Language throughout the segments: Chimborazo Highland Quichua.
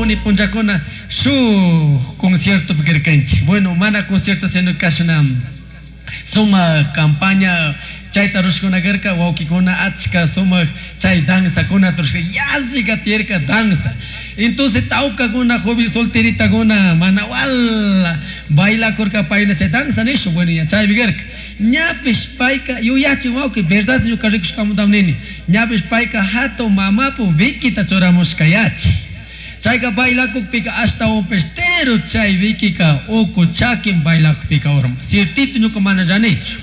Uni punllakuna shuk conciertopi karkanchik. Bueno, mana concierto sino kashna sumak campaña chayta rurashkuna karka, wawkikuna achka sumak chay danzakunata rurashka, yalliga tiyarka danza. Entonces tawkakuna joven solteritakuna mana wala bailakurka payna chay danza nishu, bueno ña chaypi karka. Ñapish payka yuyachin wawki, verdad ñuka rikushkamantami nini, ñapish payka hatun mamapu vikita churamushka yachi. Chayka bailakukpika ashtawanpish tero chay vikika uku chakin bailakukpika urma. Ciertito ñuka mana llanichu.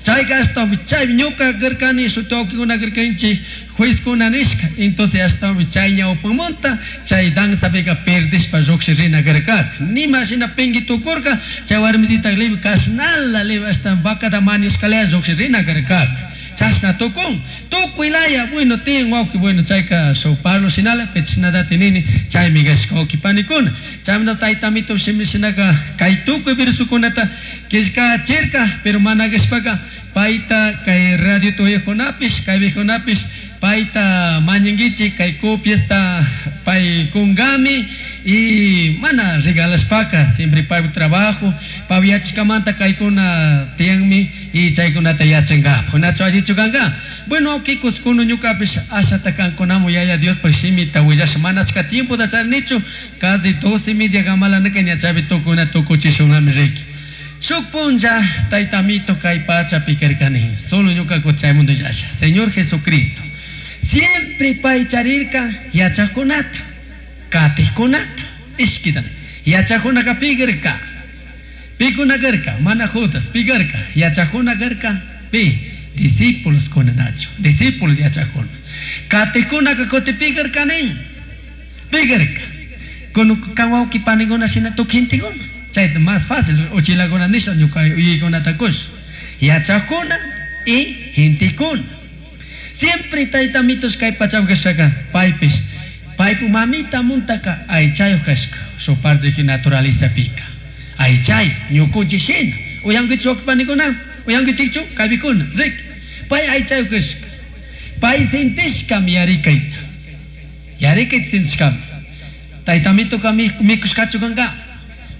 Chayka ashtawanpish chay ñuka karkani shuti wawkikuna karkanchik juezkuna nishka. Entonces ashtawanpish chay ñawpamunta chay danzapika perdishpa llujshirina karkaka. Nima shina pingui tukurka chay warmitita libre kashnala libre ashtawan vacata mañashkalaya llujshirina karkaka. Chashna tukun. Tukuy laya, bueno, tiyan wawki, bueno, chayka shuk parlo shinala, pichinadati nini, chaymi kashka wawki panikuna. Chaymanta tayta amito shimi shinaka kay tukuy versokunata killkachirka, pero mana kashpaka payta kay radiota uyajkunapish, kay viejonapish payta mañankichik kay copiasta pay kunkami y mana regalashpaka siempre paypa trabajo, pay yachashkamanta kaykuna tiyanmi y chaykunata yachankapaj. Nachu allichu kanka? Bueno, wawkikus kunu ñukapish ashata kankunamu Yaya Diospaj shimita willasha mana achka tiempota charinichu, casi 12:30 kamalanaka ña chaypi tukuna tukuchishunami riki. Shuk punlla tayta amito kay pachapi karkani, solo ñukaku chaymunta willasha. Señor Jesucristo siempre pay charirka yachajkunata, katijkunata, ishkitami. Yachajkunaka pi karka? Pikuna karka? Mana Judas, pi karka? Yachajkuna karka pi? Discípulos kuna nachu, discípulos yachajkuna. Katijkunaka kuti pi karka nin? Pi karka? Kono kan wawki panikuna shina tukuy gentekuna. Chayta más fácil uchilakuna nisha ñuka uyaykunata kush. Yachajkuna y gentekuna. Siempre tayta amitos kay pachapi kashkaka paypish paypu mamita muntaka aychayuq kashka shuk parte naturalizapika. Aychay ñukunchik shina. Uyankichik wawki panikuna? Uyankichikchu kaypikuna? Riki. Pay aychayuq kashka. Pay sintishkami yarikayta. Yarikayta sintishkami. Tayta amitoka mikushkachu kanka?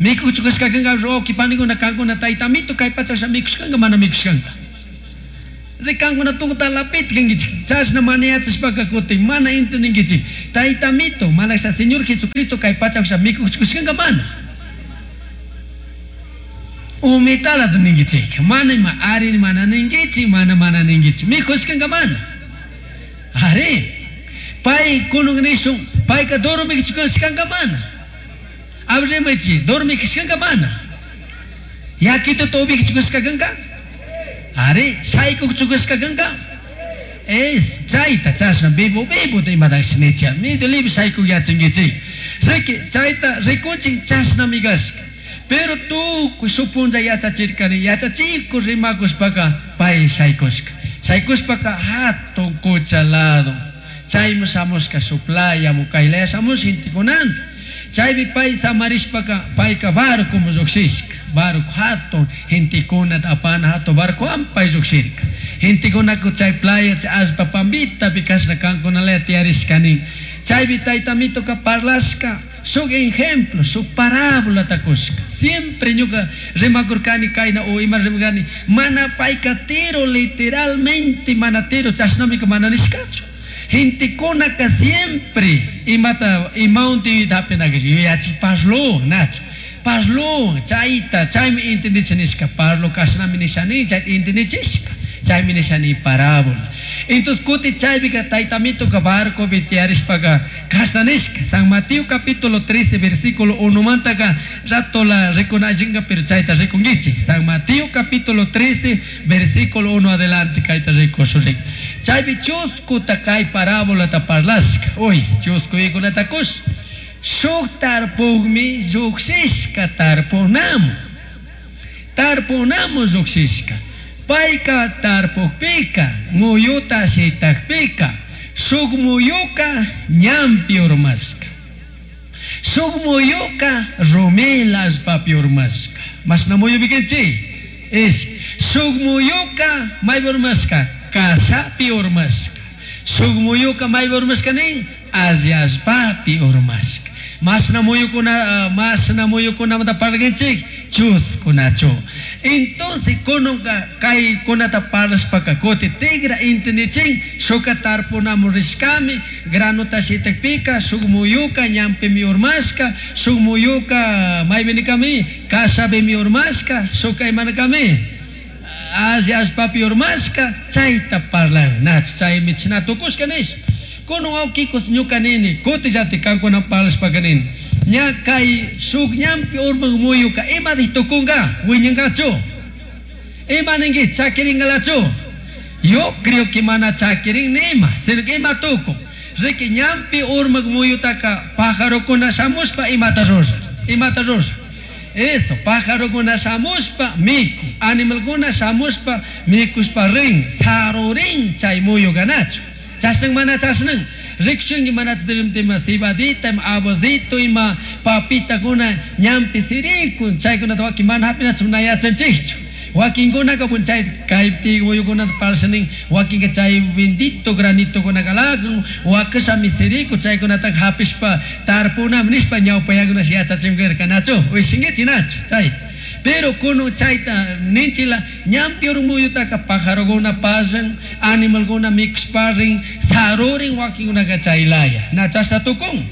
Mikuchu kashka kanka wawki panikuna kankuna tayta amito kay pacha mikushkanka mana mikushkanka. Rikankuna tukuta lapita kankichik. Chashna mana yachashpaka kutin mana entendinkichik. Tayta amito, mana kasha Señor Jesucristo kay pacha mikushkanka mana. Umitalata ninkichik. Mana ima ari mana ninkichik, mana mana ninkichik. Mikushkanka mana. Ari. Pay kunun nishun, payka dormikushkanka mana. Abrimachi, dormikushkanka mana. Yakituta ubikushkanka? Ari, shaykukushkanka? Es, chayta chashna vivo vivo imatashi nicha. Medio libre shaykuk yachankichik. Riki, chayta rikunchik chashnami kashka. Pero tukuy shuk punlla yachachirkani, yachachiku rimakushpaka pay shaykushka. Shaykushpaka hatun kucha lado. Chaymi shamushka shuk playa mukaylaya shamush gentekunanta. Chaypi pay samarishpaka payka barcomu llukshishka. Barco hatun gentekunata apana hatun barcowan pay llukshirka. Gentekunaka chay playa chay allpa pampitapi kashna kankunalaya tiyarishka nin. Chaypi tayta amitoka parlashka shuk ejemplo, shuk parábolata kushka. Siempre ñuka rimakurkani kayna o ima rimakurkani, mana payka tiro literalmente mana tiro chashnamika mana nishkachu. Gentekunaka siempre imata imaunti hapinaka yuyachik parlo nachu. Parlo chayta chaymi entendichi nishka parlo kashnami nishani chayta entendichishka. Chaymi nishani parábola. Entonces kuti chaypika tayta amitoka barcopi tiyarishpaka kashna nishka. San Mateo capítulo 13 versículo 1 mantaka ratola rikunallinka pero chayta rikunkichik. San Mateo capítulo 13 versículo 1 adelante kayta rikushun. Chaypi chuskuta kay parábolata parlashka. Uy, chusku uykunata kush. Shuk tarpukmi llukshishka tarpunamu. Tarpunamu llukshishka. Payka tarpukpika, muyuta shitakpika, shuk muyuka ñanpi urmashka. Shuk muyuka rumila allpapi urmashka. Mashna muyupi kanchik? Es shuk muyuka maypi urmashka? Kashapi urmashka. Shuk muyuka maypi urmashka nin? Alli allpapi urmashka. Mashna muyukuna, mashna muyukunamanta parlanchik? Chuskunachu. Entonces kununka kaykunata parlashpaka kuti tigra intendichin shuka tarpunamun rishkami granota shitakpika shuk muyuka ñanpimi urmashka, shuk muyuka maypi nikami kashapimi urmashka, shuka imanakami alli allpapi urmashka, chayta parlan nachu chaymi chishna tukushka nishpa. Kunun wawkikus ñuka nini kutillati kankuna parlashpaka nini ña kay shuk ñanpi urman muyuka imatik tukunka wiñankachu? Ima ninki chakiringalachu? Yo creo que mana chakirin nima, sino que ima tukun. Riki ñanpi urmak muyutaka pajarokuna shamushpa imata ruran, imata ruran. Eso, pajarokuna shamushpa mikun, animalkuna shamushpa mikushpa rin, sarurin chay muyuka nachu. Chashnan mana chashnan. Rikushunki mana ima cebadita, ima abocito, ima papitakuna ñanpi sirikun, chaykunata wakin mana hapinachu na yachanchikchu. Wakinkunaka pun chay kaypi muyukunata parlashanin, wakinka chay bendito granitokuna kalakun, wakashami siriku chaykunataka hapishpa tarpunami nishpa ñawpayakunash yachachinkarka nachu, uyshinkichik nachu chay. Pero kunun chayta ninchila ñanpi urmuyutaka pajarokuna pallan, animalkuna mikushpa rin, sarurin wakinkunaka chaylaya. Na chashna tukun.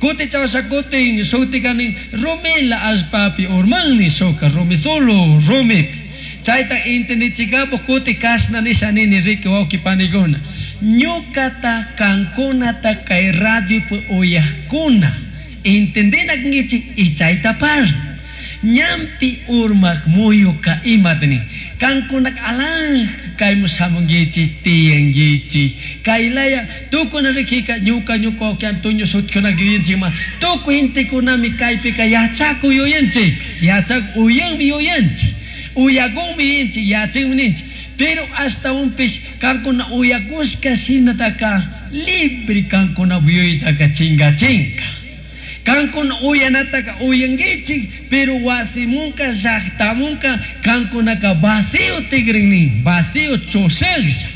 Kuti chawasha kutin shutika nin rumila allpapi urmanni shuka rumi solo rumipi. Chayta entendichikapu kuti kashna nisha nini riki wawqi panikuna. Ñukata kankunata kay radiopi uyaqkuna entendina kankichik y chayta parlan. Ñanpi urmak muyuka imata nin. Kankunaka alanja kayman shamunkichik, tiyankichik. Kaylaya tukuna rikika ñuka ñuka wawqi Antonio shutikunaka yuyanchikma tukuy gentekunami kaypika yachakuy yuyanchik. Yachakuy uyanmi yuyanchik. Uyakunmi yuyanchik, yachanmi ninchik. Pero ashtawanpish kankuna uyakushka shinataka libre kankuna yuyaytaka chingachinka. Kankuna uyanataka uyankichik, pero wasimunka llaktamunka kankunaka vacío tigrin nin, vacío chushaklla.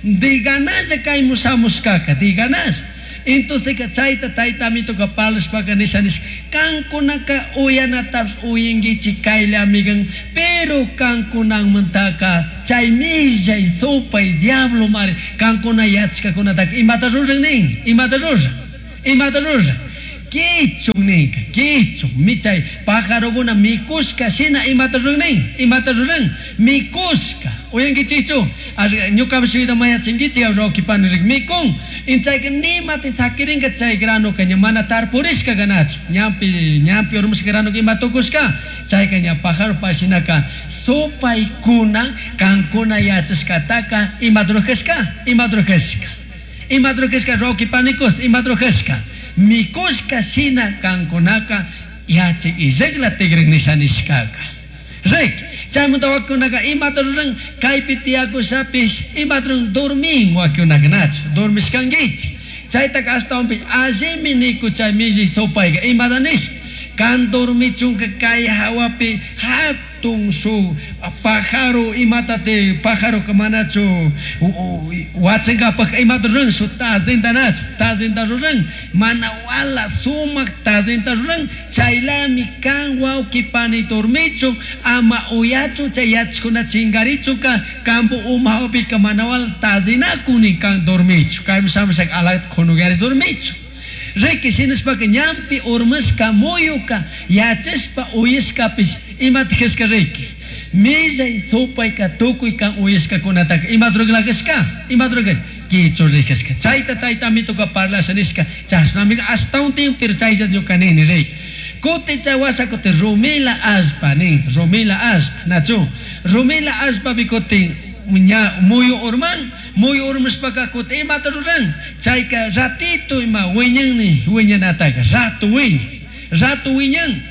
Diganalla kaymun shamushkaka, diganalla. Entonces chayta tayta amituka parlashpaka nisha nish, kankunaka uyanatapish uyankichik kaylla amigan, pero kankunamantaka chay millay supay diablo mari kankuna yachkakunataka imata ruran nin, imata ruran, imata ruran. Kichun ninka, kichun, michay pajarokuna mikushka shina imata ruran nin, imata ruran, mikushka. Uyankichikchu? Ñukapish shuyta mayachinkichik, wawqi pani rik mikun. Chayka nimati sakirinka chay granoka ña mana tarpurishka kanachu. Ñanpi, ñanpi urmashka granoka ima tukushka. Chayka ña pájaro pashinaka supaykuna kankuna yachashkataka imata rurashka, imata rurashka. Imata rurashka wawqi panikus, imata rurashka. Mikushka shina kankunaka yachay illakla tigrin nisha nishkaka. Rik, chaymanta wakinkunaka imata ruran kaypi tiyakushapish imata ruran dormin wakinkunaka nachu, dormishkankichik. Chaytaka ashtawanpish allimi niku chay millay supayka imata nishpa. Kan dormichunka kay hawapi hatun shuk pájaro imatate pájaro manachu wachankapak imata ruran shuk tazinta nachu, tazinta ruran, mana wala sumak tazinta ruran, chaylami kan wawqi pani dormichun ama uyachu chay yachkuna chingarichuka kampu uma hawapika mana wala tazinakuni kan dormichu, kaymi shamushaka alakta kunukarish dormichu. Riki shinashpaka ñanpi urmashka muyuka yachashpa uyashkapish imata kashka riki. Millay supayka tukuy kan uyashkakunataka imata rurashka, imata rurashka, kichu rikashka. Chayta tayta amituka parlasha nishka, chashnami ashtawan tiempo pero chaylla ñuka nini riki. Kuti chay washa kuti rumila allpa nin, rumila allpa, nachu. Rumila allpapi kutin ña muyu urman, muyu urmashpaka kuti imata ruran, chayka ratito ima wiñanni, wiñanataka, rato wiña, rato wiñan.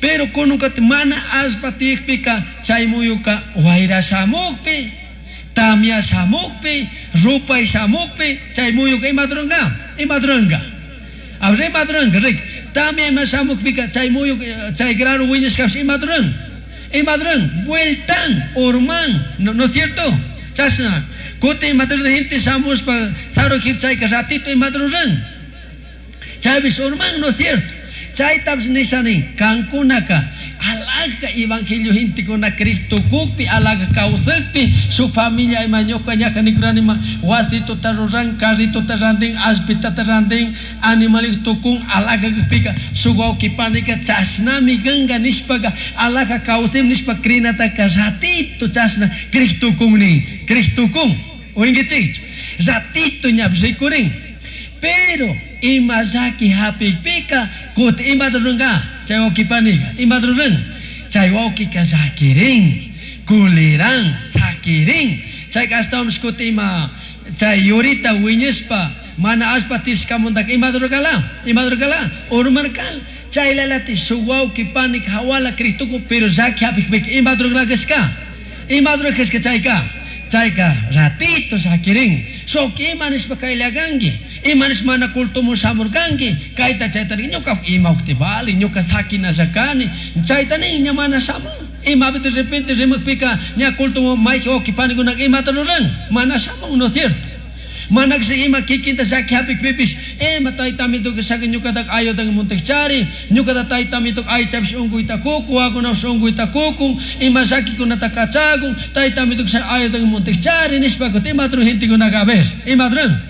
Pero kunukati mana allpa tiyakpika chay muyuka wayra shamukpi, tamya shamukpi, rupay shamukpi, chay muyuka imata ruranka, imata ruranka. Ahora imata ruranka, rik. Tamya ima shamukpika chay muyuka, chay grano wiñashkapish imata ruran. Imata ruran, vueltan, urman, no, ¿no es cierto? Chashna, kuti imata ruran, gente shamushpa, sarujip chayka ratito imata ruran. Chaypish urman, ¿no es cierto? Chaytapish nishani, kankunaka alaja evangelio gentekuna crij tukukpi, alaja kawsakpi, shuk familia ima ñuka ñaja nikuranima wasituta ruran, carritota rantin, allpitata rantin, animalik tukun, alaja kakpika shuk wawki panika chashnami kanka nishpaka alaja kawsim nishpa crinataka ratito chashna crij tukun nin, crij tukun. Uyankichikchu? Ratito ñapish rikurin. Pero ima llaki hapikpika kuti imata ruranka chay wawki panika, imata ruran? Chay wawkika llakirin, kuliran, sakirin. Chayka ashtawanpish kuti ima chay yurita wiñashpa mana allpa tishkamantaka imata rurarkala? Imata rurarkala? Urmarkala. Chaylalati shuk wawki panika hawala crij tukun, pero llaki hapikpika imata rurarkashka? Imata rurashka chayka? Chayka ratito llakirin. Shuk ima nishpa kayllakanki, ima nishpa mana cultomun shamurkanki, kayta chayta nin, ñuka ima ukti vale, ñuka sakinalla kani, chayta nin, ña mana shamun. Imapi de repente rimakpika ña cultomun mayji wawki panikunaka imata ruran, mana shamun, ¿no es cierto? Mana ima kikinta llaki hapikpipish, ima tayta amituka shaki ñukataka ayudan muntikchari, ñukata tayta amituka aychapish unkuyta kukun, wawakunapish unkuyta kukun, ima llakikunata kachakun, tayta amituka shaki ayudan muntikchari nishpa kutin imata ruran gentekunaka, a ver, imata ruran?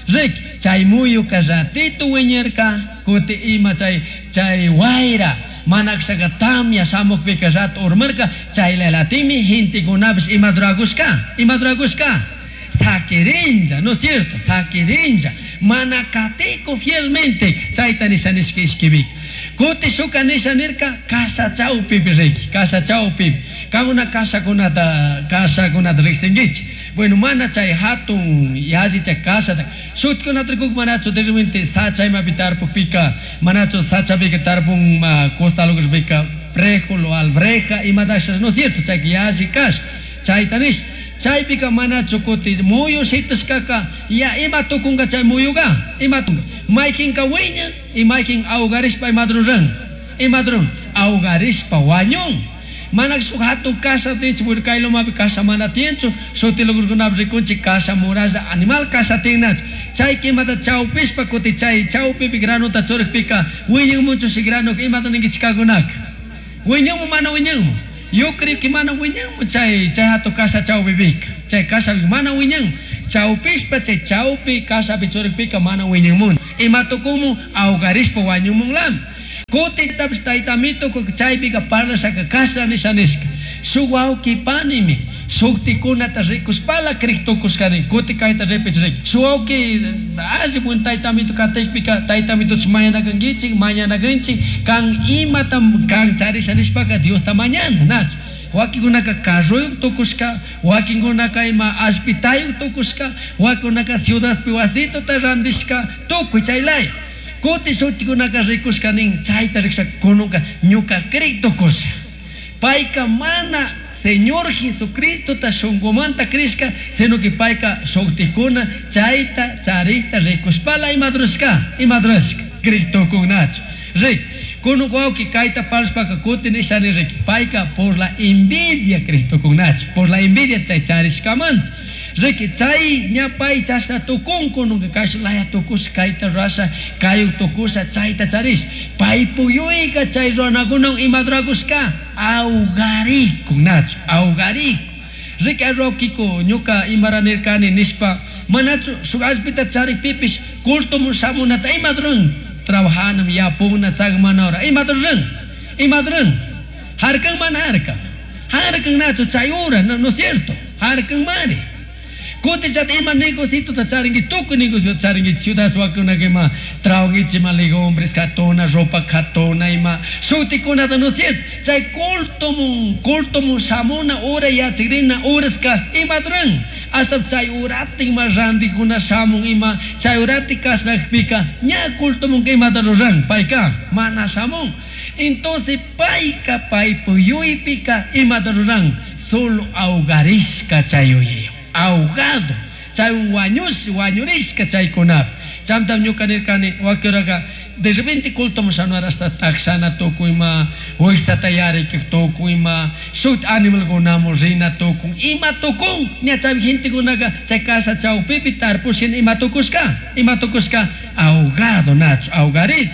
Rik, chay muyuka ratito wiñarka, kuti ima chay wayra, mana kashaka tamya shamukpika rato urmarka, chaylalatimi gentekunapish imata rurakushka, imata rurakushka? Sakirinlla, ¿no es cierto? Sakirinlla, mana katiku fielmente, chayta nisha nishka ishkibika. Kuti shuka nisha nirka, kasha chawpipi riki, kasha chawpipi. Kankuna kashakunata riksinkichik. Bueno, mana chay hatun yalli chay kashata. Shutkunata rikuk manachu de repente sacha imapi tarpukpika, manachu sachapika tarpun, costa lugarpika, prejolo, albreja, imatashas, ¿no es cierto? Chayka yalli kasha. Chayta nish. Chaypika manachu kuti muyu shitashkaka, ya ima tukunka chay muyuka, ima tukunka. Maykinka wiñan, y maykin ahogarishpa imata ruran, imata ruran, ahogarishpa wañun. Mana shuk hatun kasha tinchik, bueno, kay lomapi kasha mana tiyanchu, shuti lugarkunapi rikunchik kasha muralla animal kasha tiyanachu. Chayka imata chawpishpa kuti chay chawpipi granota churikpika wiñanmunchu shi granoka imata ninkichik kankunaka. Wiñanmu mana wiñanmu. Yo creo que mana wiñanmu chay hatun kasha chawpipika. Chay kashapi mana wiñanmu. Chawpishpa chay chawpi kashapi churikpika mana wiñanmun. Ima tukunmu ahogarishpa wañunmunlami. Kuti tapish tayta amito chaypika parlashaka kasha nisha nishka. Shuk wawki panimi shuktikunata rikushpala crij tukushkani. Kuti kayta ripich rik. Shuk wawki alli buen tayta amito katikpika tayta amitochu mañanakankichik, mañanakanchik, kan imata kan charisha nishpaka Diosta mañana, nachu. Wakinkunaka carroyuk tukushka, wakinkunaka ima allpitayuk tukushka, wakinkunaka ciudadpi wasituta randishka, tukuy chaylaya. Kuti shutikunaka rikushka nin, chayta rikusha kununka ñuka crij tukusha. Payka mana Señor Jesucristota shunkumanta crishka, sino que payka shuktikuna chayta charikta rikushpala imadrushka, imadrushka, crij tukunnachu. Rik, kunun wawki kayta parlashpaka kuti nishani rik, payka por la envidia crij tukunnachu, por la envidia chay charishkamanta. Riki, chay ña pay chashna tukun kununka kasha laya tukusha kayta rurasha, kayuk tukusha chayta charish. Pay puyuyka chay runakunawan imadurakushka, ahogarikun nachu, ahogarikun. Riki, arrokiko ñuka imara nirkani nishpa, manachu shuk allpita charikpipish cultomun shamunata imadurun, trabajanam yapuna tsagmanora, imadurun, imadurun, harkan mana harkan, harkan nachu chay hora, no, no es cierto, harkan mari. Kuti chata ima negocito charinki, tukuy negocio charinki, ciudad wakunaka ima trabajankichik ima legumbres katuna, ropa katuna, ima shutikunata, no es cierto. Chay cultomun shamuna hora yachikrina horaska imadurun. Hasta chay horati ima rantikuna shamun ima, chay horati kashnakpika ña cultomun imata ruran, payka mana shamun. Entonces payka paypuyuypika imata ruran, solo ahogarishka chay yuyaywan. Ahogado, chay wañush, wañurishka chaykunapi. Chaymantam ñuka nirkani, wakinraka de repente cultoman shanuar hasta takshana tukuyma, wixtata yarikik tukuyma, shuk animalkunamun rina tukun, ima tukun, ña chay gentekunaka chay casa chawpipi tarpush hina ima tukushka, ima tukushka, ahogado nachu, ahogarit.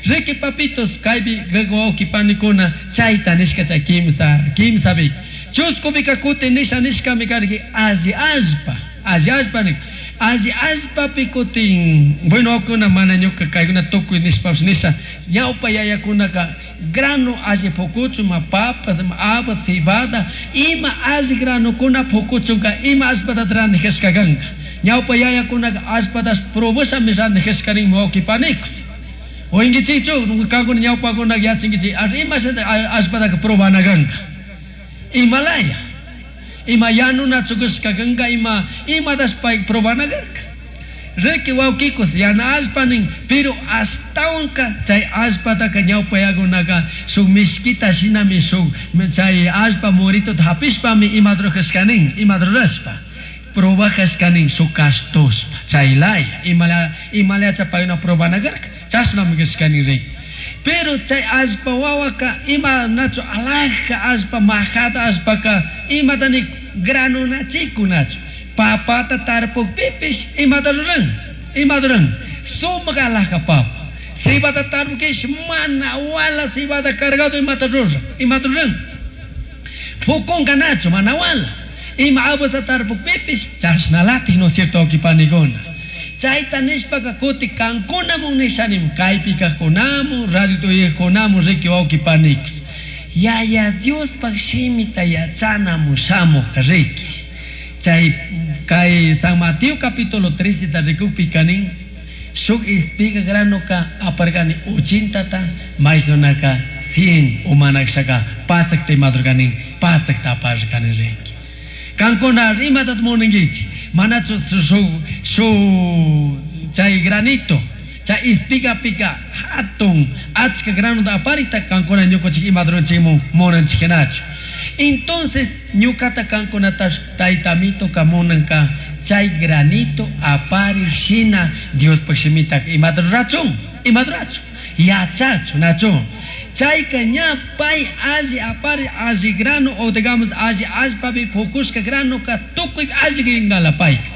Riqui papitos, kaypi wawqi panikuna chayta nishka chay kimsa, kimsapi. Chuskupika kutin nisha nishkami karki alli allpa, alli allpa nik. Alli allpapi kutin, bueno, wawkuna mana ñuka kaykuna tukuy nishpapish nisha, ñawpa yayakunaka grano alli pukuchun, ima papas, ima habas, cebada, ima alli granokuna pukuchunka ima allpata randijashka kanka. Ñawpa yayakunaka allpatash probashami randijashka nin wawqi panikos. Oinkichikchu kankuna ñawpakuna yachankichik ima allpataka probana kanka. Imalaya. Ima yanunachu kashka kanka ima imatash pay probana karka. Riqui wawkikos yana allpa nin, pero ashtawanka chay allpataka ñawpa yakunaka shuk mishkita shinami shuk chay allpa muritota hapishpami imata rurashka nin, imata rurashpa. Probajashka nin shuk kashtushpa chaylaya imala imalacha paykuna probana karka chashnami kashka nin riqui. Pero chay allpa wawaka ima nachu alhaja allpa majada allpaka imata nik granunachikunachu. Papata tarpukpipish imata ruran, imata ruran, sumak alhaja papa. Cebada tarpukpish mana wala cebada cargado imata ruran, imata ruran. Pukunka nachu mana wala. Ima habasta tarpukpipish chashnalatik, ¿no es cierto, wawqi panikuna? Chayta nishpaka kuti kankunamun nishanim kaypi kaqkunamun, radio uyaqkunamun riqui wawqi panikos. Yaya Diospaq shimita yachanamun shamuq riqui. Chay kay San Mateo capítulo 13 ta rikukpika nin shuk espiga granoka aparkani 80ta maykunaka 100 umanakshaka patsakta imadurkanin patsakta aparkani riqui. Kankuna imatat munankichik manachu shuk shuk chay granito chay espigapika hatun achka granota aparita kankuna ñukanchik imata ruranchikmun munanchiknachu. Entonces ñukata kankunatash taytamitoka munanka chay granito aparik shina Diospaq shimitaka imata rurachun, imata rurachun, yachachun, nachu. Chayka ña pay alli apari alli grano o digamos alli allpapi pukushka granoka tukuy alli ringala payka.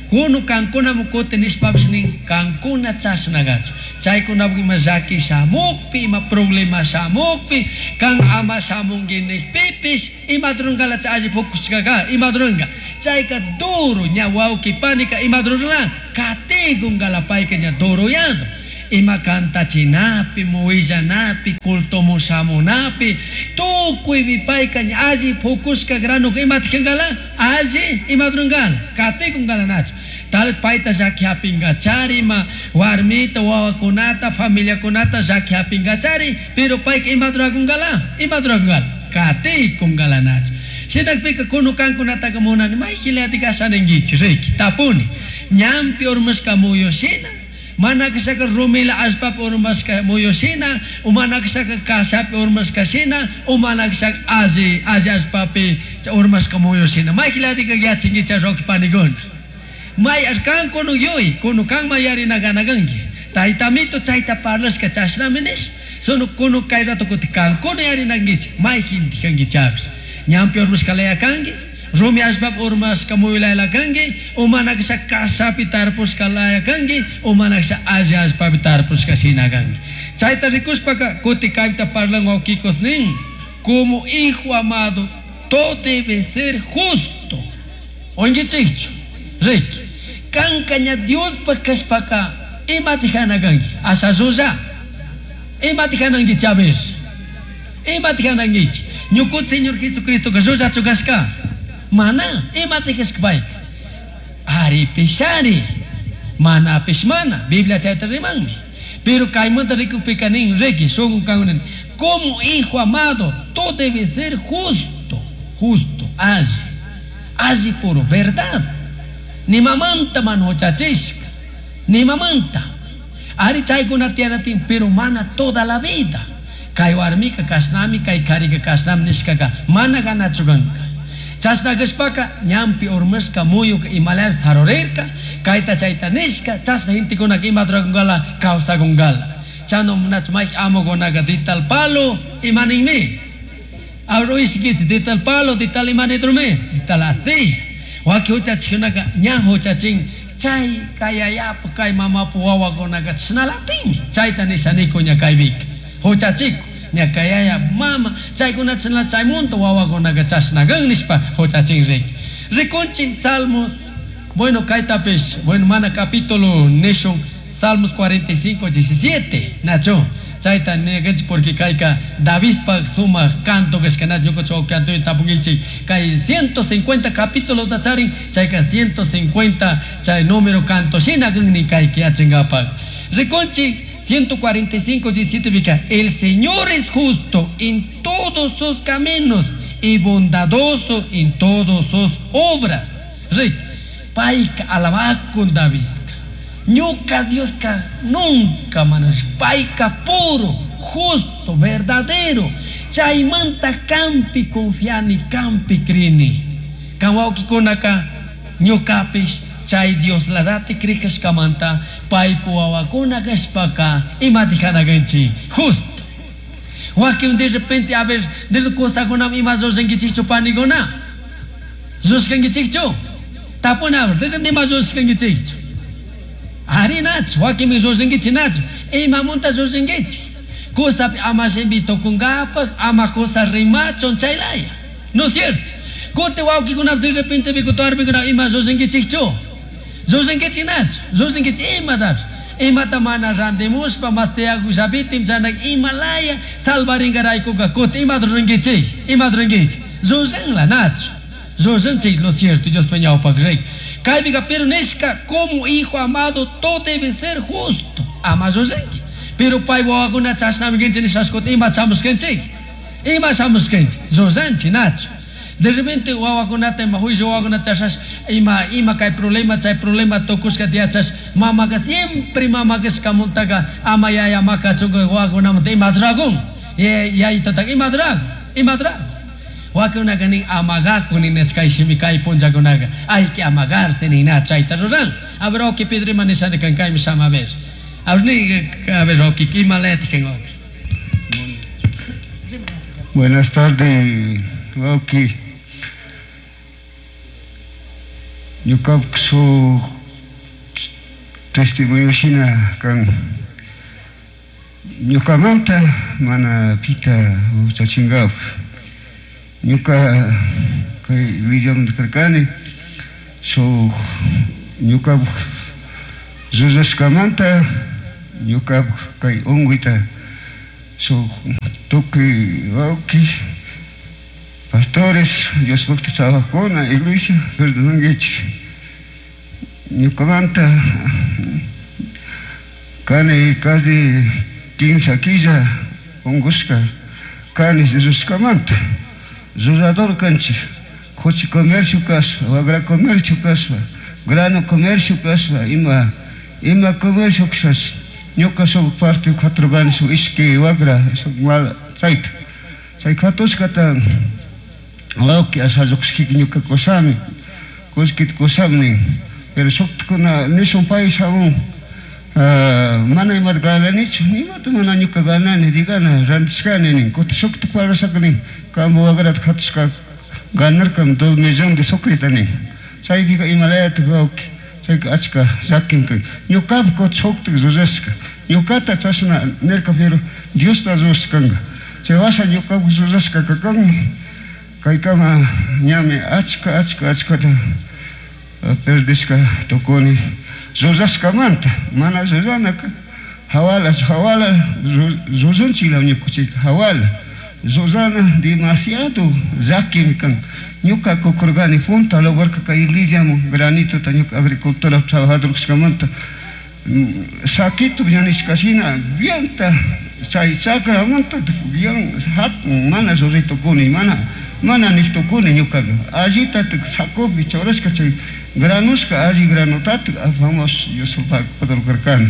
Kunu kankunamun kutin nishpapish nin kankuna chashnagachu. Chaykunapak ima llaki shamukpi, ima problema shamukpi, kan ama shamunki nikpipish imata rurangala chay alli pukushkaka imata ruranka. Chayka duro ña wawqi panika imata rurana katikungala payka ña duroyado. Ima kantachinapi, muwillanapi, cultomun shamunapi, tukuypi payka ña alli pukushka granoka imata kankala alli imata rurankala katikungala nachu. Tal payta llaki hapingachari ima warmita, wawakunata, familiakunata llaki hapingachari, pero payka imata rurakunkala, imata rurakunkala katikungala nachu. Shinakpika kunu kankunataka munani mayjilati kashaninkichik riqui tapuni ñanpi urmashka muyu shina mana kashaka rumila allpapi urmashka muyu shina o mana kashaka kashapi urmashka shina o mana kashaka alli alli allpapi urmashka muyu shina mayjilatika yachankichik wawqi panikuna. May kankuna yuy kunu kanman yarina ganakanki taytamito chayta parlashka chashnami nish solo kunu kay rato kuti kankuna yarinankichik mayjinti kankichapish ñanpi urmashka laya kanki rumi allpapi urmashka muyulayla kanki o mana kashaka kashapi tarpushka laya kanki o mana kashaka alli allpapi tarpushka shina kanki. Chayta rikushpaka kuti kayta parlan wawkikos nin como hijo amado todo debe ser justo. Oinkichikchu riqui kanka ña Diospaq kashpaka imata hana kanki asha llulla imata hanankichik a ver imata hanankichik ñukunchik Señor Jesucristoka llullachu kashka mana imata kashka payka aripishari manapish mana Biblia chayta rimanmi pero kaymanta rikukpika nin riqui shunku kankuna como hijo amado todo debe ser justo, justo, alli, alli puro, verdad. Nimamanta mana huchachishka, nimamanta. Ari chaykuna tiyanatin, pero mana toda la vida. Kay warmika kashnami, kay karika kashnami nishkaka mana ganachu kanka. Chashna kashpaka ñanpi urmashka muyuka imalaypish sarurirka, kayta chayta nishka, chashna gentekunaka imata rurakunkala kawsakunkala. Chano nachu may amukunaka de tal palo ima ninmi. Arruishkichik de tal palo, de tal ima nidrumi, de tal astilla. Wakin huchachikunaka ña huchachin Chay kay yayapa kay mamapa wawakunaqa chashnalatinmi. Chayta nisha nikun ña kaypika. Huchachiku ña kay yaya mama chaykuna chashnala chaymunta wawakunaqa chashnakan nishpa huchachin riki. Rikunchik Salmos, bueno, kaytapish, bueno, mana capítulo nishun, Salmos 45, 17, nachu? Chayta nikanchik porque kayka Davidpaq sumaq canto kashka, nachu? Ñukanchik wawqi Antonio tapunkichik, kay 150 capítulota charin, chayka 150 chay número canto shina kanni kayka yachankapak. Rikunchik 145, 17 pika, el Señor es justo en todos sus caminos y bondadoso en todas sus obras. Rik, payka alabakun Davidka. Ñuka Dioska nunca mana payka puro, justo, verdadero. Chaymanta kampi confiani, kampi crini. Kan wawqikunaka ñukapish chay Dios ladati crikashkamanta paypu wawakuna kashpaka imati kanakanchik justo. Wakin de repente, a ver, de cosakunam ima rurashankichikchu panikuna? Rurashkankichikchu? Tapuna, de repente ima rurashkankichikchu? Ari nachu, wakinmi rurashankichik nachu. Imamunta rurashankichik? Kusapi ama shimpi tukunkapaq, ama kusa rimachun chaylaya. ¿No es cierto? Kuti wawqikuna de repente bikutuarpikuna ima rurashankichikchu? Rurashankichik nachu? Rurashankichik imatapish? Imata mana randimushpa mas tiyakushllapitim chaynak imalaya salvarinkaraykuka kuti imata rurankichik? Imata rurankichik? Rurashanla nachu? Rurashanchik, lo cierto, Diospa ñawpaq rey. Kaypika pero nishka como hijo amado todo debe ser justo. Ama rurashanki. Pero pay wawakuna chashnami kanchik nishpa kuti ima shamushkanchik? Ima shamushkanchik? Rurashanchik nachu? De repente wawakunata ima juicio wawakunata chashash ima ima kay problema chay problema tukushkata yachash mamaka siempre mama kashkamuntaka ama yaya makachunka wawakunamanta ima rurakun? Yayitutaka ima rurakun? Ima rurakun? Wakinkunaka nin amagakun ninach kay shimi kay punllakunaka hay que amagarse nina chayta ruran. A ver, wawqi Pedro ima nishani kan kaymi shama a ver. A ver, ni, a ver, wawqi, ima layata kan wawqi? Buenas tardes, wawqi. Ñukapak shuk testimonio shina kan. Ñukamanta mana pita huchachinkapak. Ñuka kay willamanta karkani shuk ñukapak rurashkamanta ñukapak kay unkuyta shuk tukuy wawqi pastores Diospakta trabajakuna iglesia perdonankichik. Ñukamanta kani casi 15 killa unkushka kani rurashkamanta. Rurador kanchik, kuchi comercio kashpa, wagra comercio kashpa, grano comercio kashpa, ima ima comercio kashash. Ñuka shuk parte katurkani shuk ishki wagra, shuk mal chayta. Chay katushkata wawqi asha lluqshkiki ñuka kusami, kullkita kusami nin. Pero shuktakuna nishun pay shamun mana imata gananichu, imata mana ñuka ganani, digana rantishkani nin. Kutin shuktak parlashaka nin, kampa wagrata katushka ganarkami 2 millón de sucreta nin. Chaypika imalayata wawqi, chayka achka llakin kan. Ñukapak kutin shuktak rurashka. Ñukata chashna nirka, pero Diosta rurashkanka. Chay washa ñukapak rurashkaka kanmi. Kaykama ñami achka achka achkata perdishka tukuni rurashkamanta. Mana ruranaka hawala hawala ruranchikla ñukanchikka hawala rurana demasiado llakimi kan. Ñuka kukurkani punta lugarka kay iglesiaman granitota ñuka agricultura trabajador kashkamanta saquito nishka shina bienta chay chakramanta bien hatun mana ruray tukuni, mana mana nik tukuni ñukaka allita sacopi churashka chay granushka alli granotata apamos Yusufpak karkani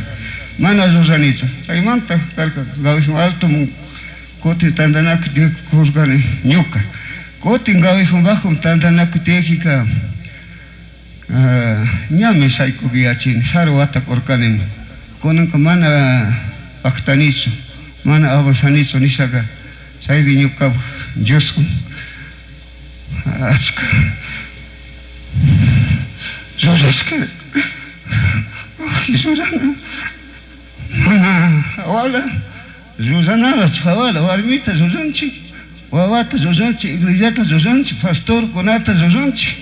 mana ruranichu. Chaymanta karka Gavijon Altomun kutin tantanakuy tiyakkurkani ñuka. Kutin Gavijon Bajo tantanakuy tiyakika ñami shaykukiyachini saru wata kurkani. Kunanka mana paktanichu, mana avanzanichu nishaka chaypi ñukapak Dioswan achka rurashka. Tukuy rurana mana hawala ruranachu hawala warmita ruranchik, wawata ruranchik, iglesiata ruranchik, pastorkunata ruranchik,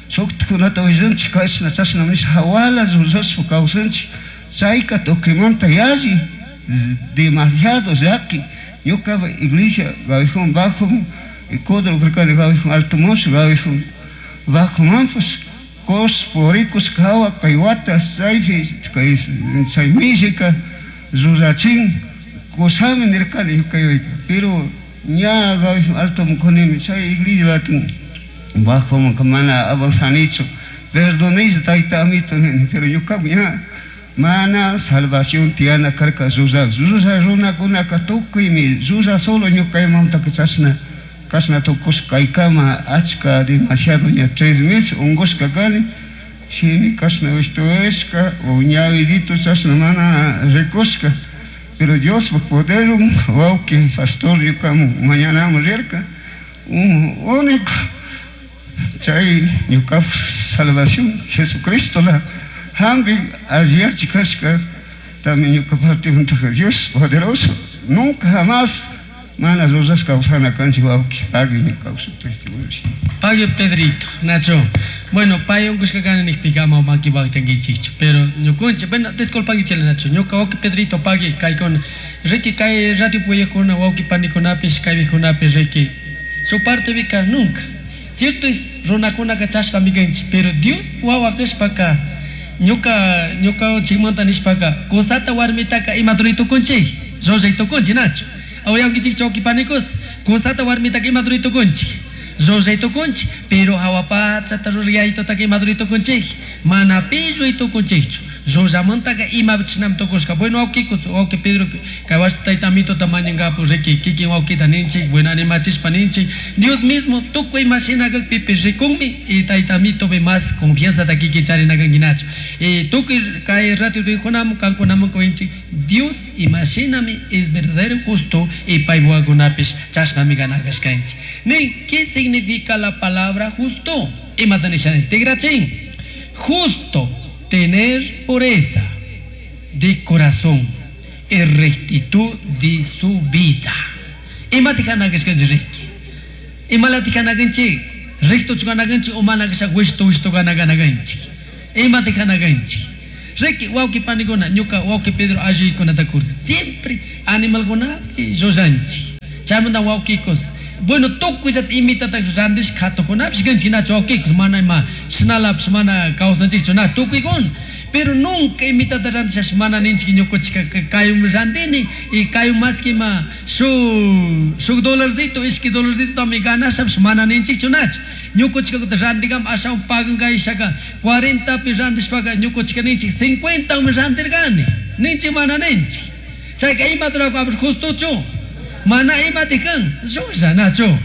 shuktikunata willanchik kashna chashna nisha hawala rurashpa kawsanchik. Chayka tukuymanta yalli demasiado llaki. Ñuka iglesia Gavijón Bajo Codro karkani Gavijón Alto Mozo Gavijón Bajomanpas cos purikus hawa kay wata chaypi kay chay millika rurachin kusami nirkani ñuka yuyayta, pero ña Gavijón Alto kunimi chay iglesia latin Bajomanka mana avanzanichu. Perdonaylla tayta amito nini, pero ñuka ña mana salvación tiyana karka llulla llulla runakunaka tukuymi llulla solo ñukaymantaka chashna kashna tukushka kaykama achka demasiado ña 3 meses ungushka kani shimi kashna wishtushka o ñawillito chashna mana rikushka, pero Diospaj poderwan wawki pastor ñukaman mañanaman rirka único chay ñukapaj salvación Jesucristola hampi alliyachi kashka también ñuka partimantaka Dios poderoso nunca jamás mana rurashka kawsana kanchik wawki pagui ñuka testimonio. Pagui Pedrito, Nacho. Bueno, pay unkushka kani nijpika ama maki waqtankichikchu, pero ñukunchik, bueno, disculpankichik Nacho, ñuka wawki Pedrito pagui kaykuna, riki kay radio puyakuna wawki panikunapish kaypikunapish riki, su partepika nunca. Cierto es runakunaka chashnami kanchik, pero Dios wawa kashpaka ñuka ñukanchikmanta nishpaka kusata warmitaka ima ruray tukunchik, ruray tukunchik Nacho. Uyankichikchu wawki panikus, kusata warmitaka ima ruray tukunchik, ruray tukunchik, pero hawa pachata ruraytutaka ima ruray tukunchik, mana pi ruray tukunchikchu. Llullamuntaka ima chishnami tukushka. Bueno wawkikus, wawki Pedro kay wasi tayta amitota mañankapu riki kikin wawkita ninchik, bueno animachishpa ninchik, Dios mismo tukuy ima shina kakpipish rikunmi y tayta amitopi mas confianzata kikin charina kanki Nacho. Y tukuy kay radio tuykunamun kankunamun kuyinchik, Dios ima shinami es verdadero justo y pay wawakunapish chashnami kana kashkanchik. Nin, ¿qué significa la palabra justo? Imata nishani tikrachin. Justo, tener pureza de corazón y rectitud de su vida. Imata kana kashkanchik riki? Imalati kana kanchik? Rectochu kana kanchik o mana kasha wishtu wishtu kana kana kanchik? Imata kana kanchik? Riki wawki panikuna ñuka wawki Pedro allikunata kurka. Siempre animalkunapi llullanchik. Chaymanta wawkikus, bueno tukuyllata imitata randishka katukunapish kanchik nachu wawkikus, mana ima chishnalapish mana kawsanchikchu na tukuykuna. Pero nunca imitata randishash mana ninchik ñukuchika kaywan randini y kaywan maski ima shuk dolarcito, ishki dolarcito también ganashapish mana ninchikchu nachu. Ñukuchika kutin randigam ashawan pagankaishaka 40 pi randishpaka ñukuchika ninchik 50 mi randirkani. Ninchik mana ninchik. Chayka imata rurakuapish justochu. Mana imati kan, llulla nachu.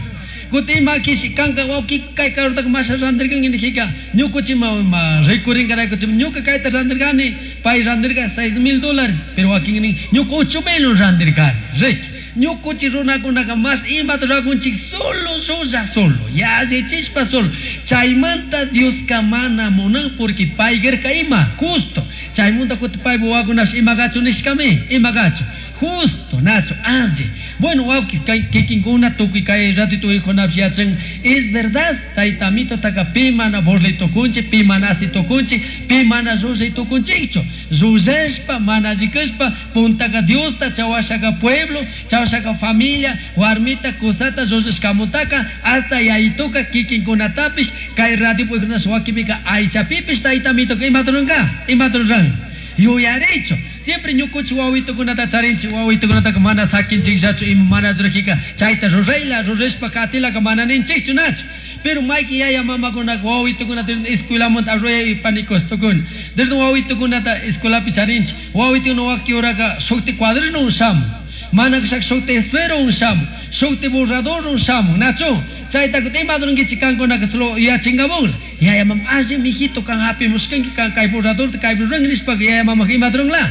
Kutin ima kishi kanka wawki kay carrotaka masha randirkanki nijika ñukuchik ma rikurinkaraykuchik ñuka kayta randirkani, pay randirka $6,000, pero wakin nin ñuka 8,000 randirkani. Riki, ñukuchik runakunaka mas imata rurakunchik solo llulla solo, yallichishpa solo. Chaymanta Dioska mana munan porque pay karka ima justo. Chaymanta kutin paypa wawakunapish ima kachu nishkami, ima kachu. Justo, Nacho, alli. Bueno, wawkis, kay kikinkuna tukuy kay ratito hijunapish yachan, es verdad, tayta amito taka pi mana burlay tukunchik, pi mana asi tukunchik, pi mana llullay tukunchikchu. Llullashpa, mana alli kashpa, puntaka Diosta, chawashaka pueblo, chawashaka familia, warmita, kusata, llullashkamutaka, hasta yayituka kikinkunatapish, kay radio hijunapish wakipika aychapipish tayta amitoka imata ruranka, imata ruran. Yuyarichu. Siempre ñukuchik wawitukunata charinchik, wawitukunataka mana sakinchikllachu, ima mana rurajika, chayta rurayla, rurashpa katilaka mana ninchikchu nachu. Pero mayki yaya mamakunaka wawitukunata escuelamanta arroyay panicos tukun. Desde wawitukunata escuelapi charinchik, wawitukuna waki uraka shukti cuaderno shamun, mana kashaka shukti esfero shamun, shukti borrador shamun, nachu. Chayta kutin ima rurankichik kankunaka solo yuyachinkamunla. Yaya mama, alli mijito kan hapimushkanki, kan kay borradorta kay ruranki nishpaka yaya mamaka ima ruranla,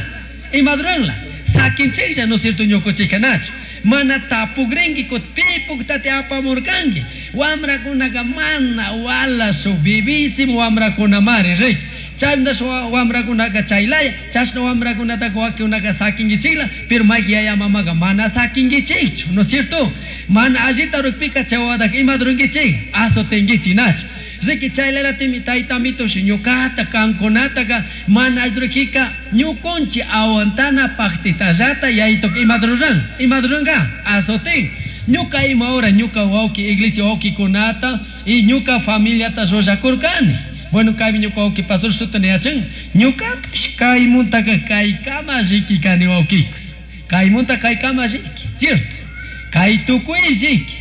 ima ruranla. Sakinchiklla, no es cierto, ñukuchika nachu. Mana tapukrinki, kut pipuktate apamurkanki. Wamrakunaka mana wala shuk vivísimo wamrakunamari, riki. Chaymantash wamrakunaka chaylaya, chashna wamrakunataka wakinkunaka sakinkichikla, pero mayqa yaya mamaka mana sakinkichikchu, ¿no es cierto? Mana allita rurajpika chay wawataka imata rurankichik? Azotenkichik, nachu? Riki chaylalatimi tayta amitosh ñukata kankunataka mana alli rurajika ñukunchik aguantana pajtitallata yayituka imata ruran? Imata ruranka? Azoten. Ñuka ima hora ñuka wawki iglesia wawkikunata y ñuka familiata llullakurkani. Bueno, kaymi ñuka wawki pastor shuti yachan. Ñukapish kaymuntaka kaykama riki kani wawkikus. Kaymunta kaykama riki, cierto? Kay tukuy riki.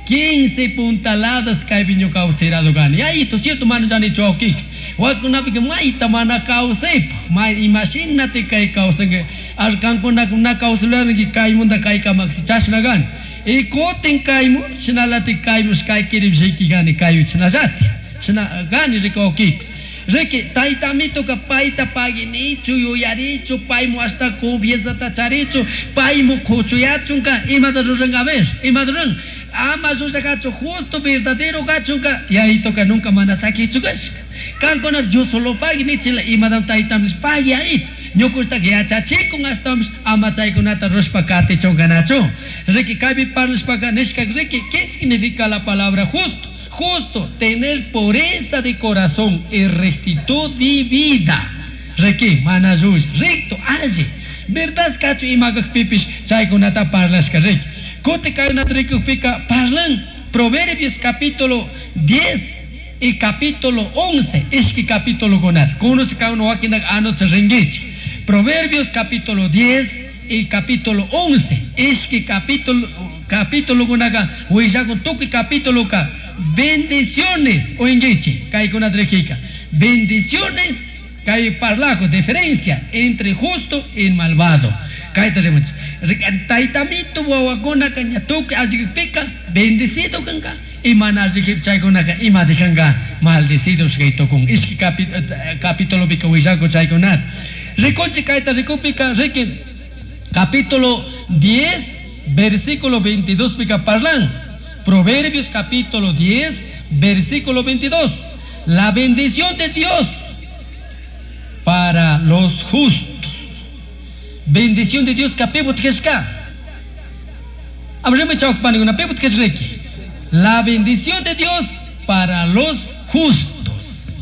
15 puntaladas kaypi ñuka kawsirado kani. Yayito, cierto, mana llanichu wawkikus. Wakunapika mayta mana kawsaypaj, may imashinati kay kawsanki. Arkankunaka na kawsalanki kaymunta kaykamakshi chashna kani. Y kutin kaymun chinalati kaymush kay kirip riki kani kaypi chinallati. China kani riki wawkikus. Riki tayta amitoka payta paginichu yuyarichu paymu hasta confianzata charichu paymu kuchuyachunka imata ruranka a ver imata ruran ama llullakachu justo verdadero kachunka yayitoka nunca mana sakichu kashka. Kankuna yo solo pagui nichila imatam taytapish pagui ayito. Ñukushtaka yachachikun ashtawanpish ama chaykunata rushpa katichunkanachu. Riki kaypi parlashpaka nishka riki ¿qué significa la palabra justo? Justo, tener pureza de corazón y rectitud de vida. Riki, mana llulla, recto, alli. Verdad kachu ima kajpipish chaykunata parlashka riki. Kuti kaykunata rikukpika parlan Proverbios capítulo 10 y capítulo 11, ishki capítulo kunata. Conoce cada uno wakinaka anocha rinkichik. Proverbios capítulo 10 y capítulo 11, ishki capítulo capítulo kunaka willakun tukuy capítuloka bendiciones oinkichik kaykunata rikika. Bendiciones kay parlako diferencia entre justo y el malvado. Kayta rimanchik. Taytamito wawakunaka ña tukuy alli kakpika bendecido kanka y mana alli chaykunaka ima dejanka maldecido tukun. Ishki capítulopika willakun chaykunata. Rikunchik kayta rikupika riki capítulo 10 versículo 22 pika parlan. Proverbios capítulo 10 versículo 22. La bendición de Dios para los justos. Bendición de Dios kapibut keshka. Abrime chawk paniguna pibut keshreki. La bendición de Dios para los justos.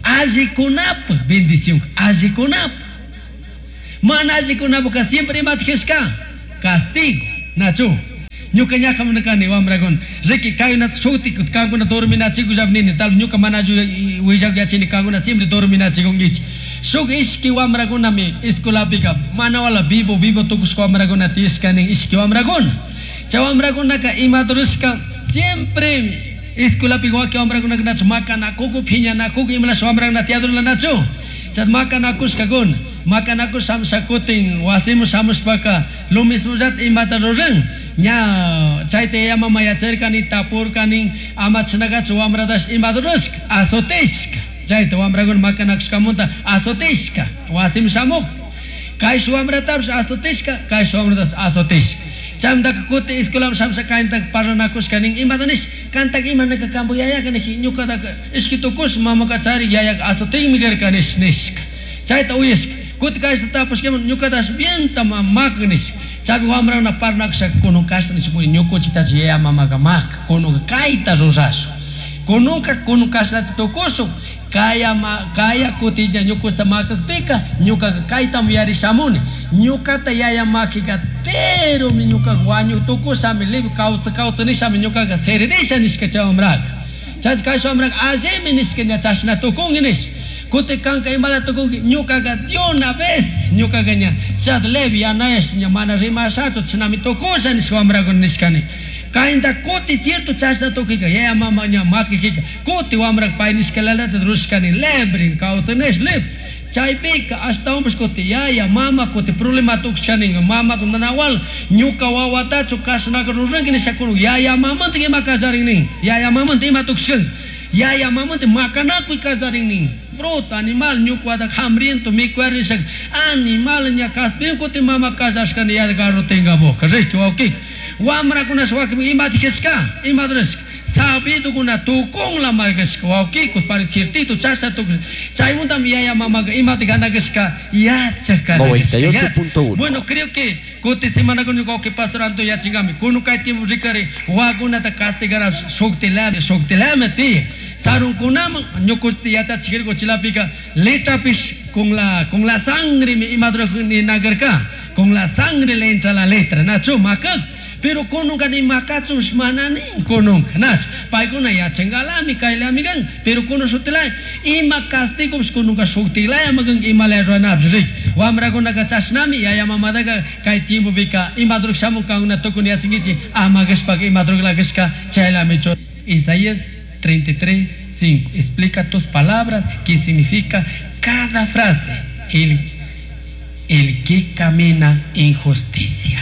Allikunapaj bendición, allikunapaj. Mana allikunapajka siempre imata keshka. Castigo, nachu. Ñuka ñaja kani wamrakuna. Riki kaykunata shuti kankuna dorminachikushapi nini, tal ñuka mana willak yachini kankuna siempre dorminachikunkichik. Shuk ishki wamrakunami escuelapika mana wala vivo vivo tukushka wamrakuna tiyashka nin ishki wamrakuna. Chay wamrakunaka imata rurashka siempre escuelapika wakin wamrakunaka nachu makanakuku phiñanakuku imalash wamrakuna tiyadurla nachu. Chay makanakushkakuna, makanakush shamusha kutin wasiman shamushpaka lo mismo llata imata ruran. Ña chayta yaya mama yacharkani tapurkani ama chinakachu wamratash imata rurashka azotishka. Chayta wamrakuna makanakushkamunta azotishka wasiman shamuk. Kaysh wamratapish azotishka, kaysh wamratash azotishka. Chaymantaka kutin escuelaman shamusha kayntaka parlanakushka nin imata nish kantaka imanaka kampu yayaka niji ñukataka ishki tukush mamaka charik yayaka azotinmi karka nish nishka. Chayta uyashka. Kuti kayshta tapushkaman ñukatash bienta maka nish. Chaypi wamrakuna parlanakushaka kunun kashta nish ñukuchitash yaya mamaka maka kununka kayta rurashun. Kununka kunun kashnata tukushun. Kaya kaya kutilla ñukushta makakpika ñukaka kaytami yarishamuni. Ñukata yaya makika teromi ñukaka wañuk tukushami libre kawsa kawsa nishami ñukaka seririsha nishka chay wamraka. Chay kay wamraka allimi nishka ña chashna tukunki nish. Kuti kanka imala tukunki ñukaka de una vez ñukaka ña chat leve yanayash ña mana rimashachu chinami tukusha nishka wamrakuna nishkani. Kaynta kuti cierto chashna tukika yaya mama ña makikika kuti wamraka pay nishka lalata rushkani libre kawsanish libre. Chaypika ashtawanpish kuti yaya mama kuti problema tukushkanin mama manawal ñuka wawatachu kashnaka ruranki nisha kunun yaya mamanta ima kallarin nin yaya mamanta ima tukushkan yaya mamanta makanakuy kallarin nin bruto animal ñuka wataka hambriento mikuar nisha animal ña kaspin kuti mama kallashkani yaya garrotenga boca riki wawkika. Wamrakunash wakin imata kishka imata rishka. Sabidukuna tukunla markashka wawkikus pari ciertito chashna tukush. Chaymantami yaya mamaga imata ganakashka yachak kanakashka. 98.1. Bueno, creo que kuti semanakuna wawqi pastor Antonio yachingami. Kuno kay tiempo rikari wawakunata castigara shuktilami shuktilami tiyan. Sarunkunaman ñukuchti yachachikirku chilapika letrapish con la sangre mi imadroj ninakarka. Con la sangre le entra la letra. Nachu makak. Pero kununka ni makachun mana nin kununka nachu. Paykuna yachangalami kaylami kan. Pero kunu shutilay ima castigopish kununka shuktilaya makan imalaya ruranapish rik. Wamrakunaka chashnami yaya mamadaka kay tiempopika imadruk shamun kankuna tukun yachankichik ama kashpaka imadruk kashka chaylami chu. Isaías 33, 5. Explica tus palabras, qué significa cada frase. El que camina en justicia.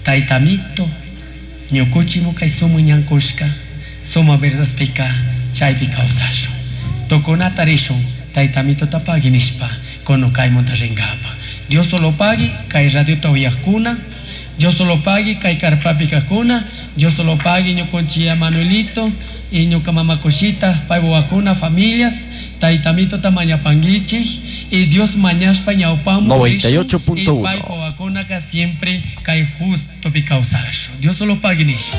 Taytamito, ñukuchimu kay sumu ñankushka, suma verdadpika chaypi kawsashun. Tukunata rishun, Taytamito tapagui nishpa, kono kaymunta rinkapa. Dios solo pagui, kay radiota uyakuna, Dios solo pagui, kay karpapi kajkuna, Dios solo pagui ñukunchi Manuelito, y ñuka mama Koshita, pay wawakuna, familias, Taytamito ta mañapanguichik, y Dios mañashpa ñawpamu 98.1. y pay wawakunaka siempre kay justo pi kawsashun. Dios solo pagui nish.